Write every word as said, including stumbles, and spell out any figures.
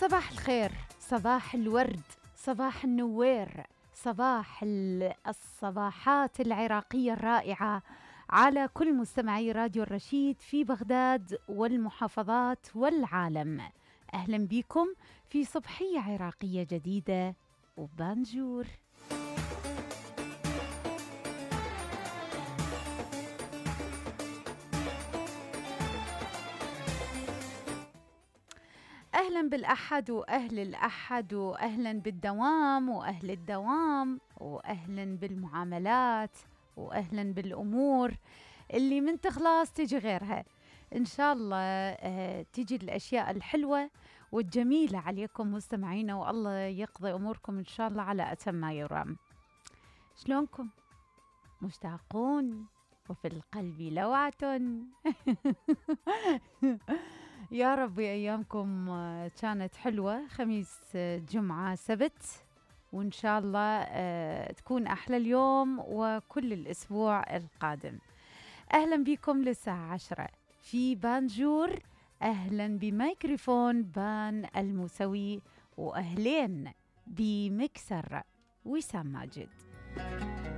صباح الخير، صباح الورد، صباح النوير، صباح الصباحات العراقية الرائعة على كل مستمعي راديو الرشيد في بغداد والمحافظات والعالم. أهلا بكم في صبحية عراقية جديدة وبانجور. أهلا بالأحد وأهل الأحد، وأهلا بالدوام وأهل الدوام، وأهلا بالمعاملات، وأهلا بالأمور اللي من تخلص تجي غيرها. إن شاء الله آه تجي الأشياء الحلوة والجميلة عليكم مستمعينا، والله يقضي أموركم إن شاء الله على أتم ما يرام. شلونكم؟ مشتاقون وفي القلب لوعة. يا رب أيامكم كانت حلوة، خميس جمعة سبت، وإن شاء الله تكون أحلى اليوم وكل الأسبوع القادم. أهلا بكم للساعة عشرة في بانجور. أهلا بميكروفون بان الموسوي، وأهلين بمكسر وسام ماجد.